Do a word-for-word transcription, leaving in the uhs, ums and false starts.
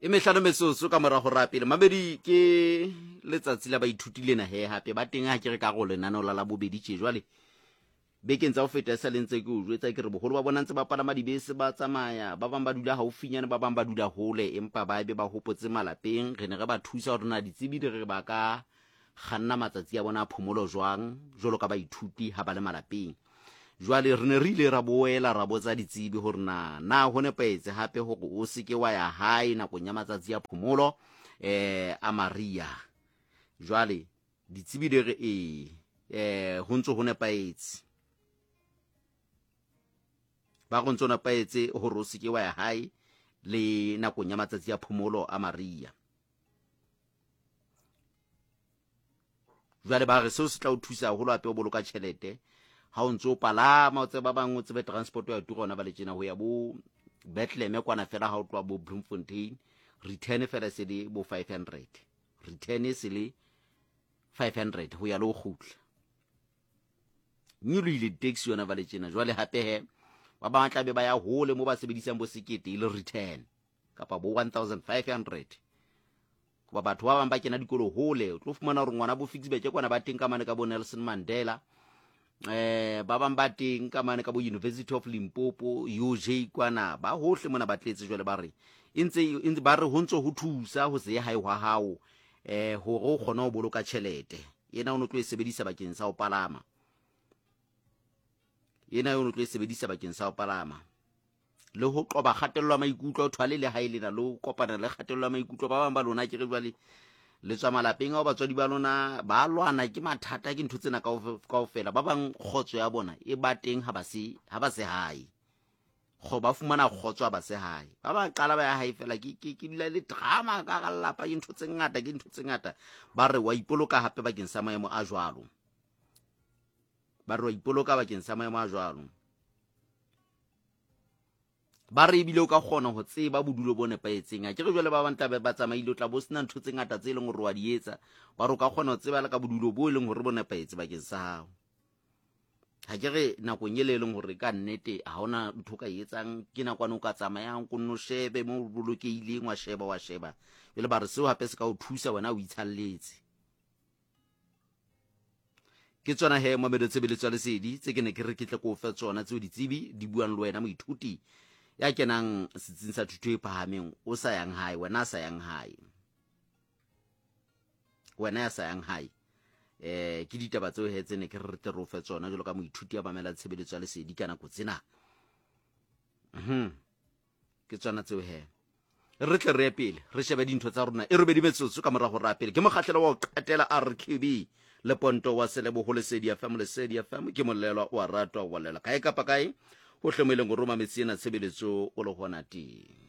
E mehlano metsotso ka morago ra pele mabedi ke letsatsi la baithuti lena he hape ba teng ha ke re ka go lenaneo la la bobedi tje. Jwale bekeng tsa ho feta e sa le ntse ke o jwetsa ke re boholo ba bona ntse ba palama dibese ba tsamaya, ba bang ba dula haufinyane, ba bang ba dula hole, empa ba be ba hopotse malapeng. Re ne re ba thusa hore na ditsebi di re ba ka kganna matsatsi a bona a phomolo jwang jwalo ka baithuti ha ba le malapeng. Jwale re ne re ile ra boela ra botsa ditsebi hore na na ho nepahetse hape hore o se ke wa ya hae nakong ya matsatsi a phomolo eh a Maria. Jwale ditsebi di re ee, eh ho ntso ho nepahetse, ba go ntso nepahetse hore o se ke wa ya hae le nakong ya matsatsi a phomolo a Maria. Jwale ba re seo se tla o thusa haholo hape o boloka tjhelete ha o ntso palama, o tseba ba bang o tsebe transport ya tura ona ba le tjena ho ya bo Bethlehem kwana fela ha o tloha bo Bloemfontein, return fela se le bo five hundred, return se le five hundred ho ya le ho kgutla. Nyolohile di-taxi yona ba le tjena. Jwale hape he ba bang tla be ba ya hole mo ba sebedisang bo sekete e le return kapa bo one thousand five hundred. Hoba batho ba bang ba kena dikolo hole, o tlo fumana hore ngwana bo Ficksburg kwana ba teng ka mane ka bo Nelson Mandela, eh ba bang ba teng ka mane ka bo University of Limpopo, U J kwana, ba hohle mona ba tletse. Jwale ba re e ntse, e ntse ba re ho ntso ho thusa ho se ye hae hwa hao, eh hore o kgone ho boloka tjhelete ena o no tlo e sebedisa bakeng sa ho palama, ena o no tlo e sebedisa bakeng sa ho palama le ho qoba kgatello ya maikutlo. O thwale le hae lena le ho kopana le kgatello ya maikutlo. Ba bang ba lona ke re jwale le tswa malapeng ao batswadi ba lona ba lwana ke mathata, ke ntho tsena kaofe-, kaofela. Ba bang kgotso ya bona e ba teng ha ba se, ha ba se hae, Kgo-, ba fumana kgotso ha ba se hae. Ba ba qala ba ya hae fela, ke, ke, ke dula le drama ka hara lelapa, ke ntho tse ngata, ke ntho tse ngata. Ba re wa ipoloka hape bakeng sa maemo a jwalo, ba re wa ipoloka bakeng sa maemo a jwalo. Ba re ebile o ka kgona ho tseba bodulo bo nepahetseng. Ha ke re jwale ba bang tla be ba tsamaile, o tla bo sena ntho tse ngata tse leng hore wa di etsa. Ba re o ka kgona ho tseba le ka bodulo bo e leng hore bo nepahetse bakeng sa hao. Ha ke re nakong ele e leng hore ka nnete ha hona ntho o ka e etsang, ke nakwane o ka tsamayang ko nno shebe moo o bolokehileng, wa sheba, wa sheba. Jwale ba re seo hape se ka o thusa wena o itshalletse. Ke tsona he mamelo tshebeletso ya lesedi tse ke ne ke re ke tle ko o fe tsona tseo ditsebi di buang le wena moithuti ya kenang setsing sa thuto e phahameng, o sa yang hae, wena a sa yang hae, wena ya sa yang hae. Eh, ke ditaba tseo he tse ne ke re tle re o fe tsona jwalo ka moithuti ya mamela tshebeletso ya lesedi ka nako tsena. Mhm. Ke tsona tseo he. Re tle re ye pele, re shebe dintho tsa rona. E robedi metsotso ka morago ra pele. Ke mokgahlelo wa ho qetela R Q B le Ponto wa Seleboho Lesedi F M, Lesedi F M ke molelwa wa ratwa wa lela kae kapa kae hohle mo e leng hore o mametse ena tshebeletso o le hona teng.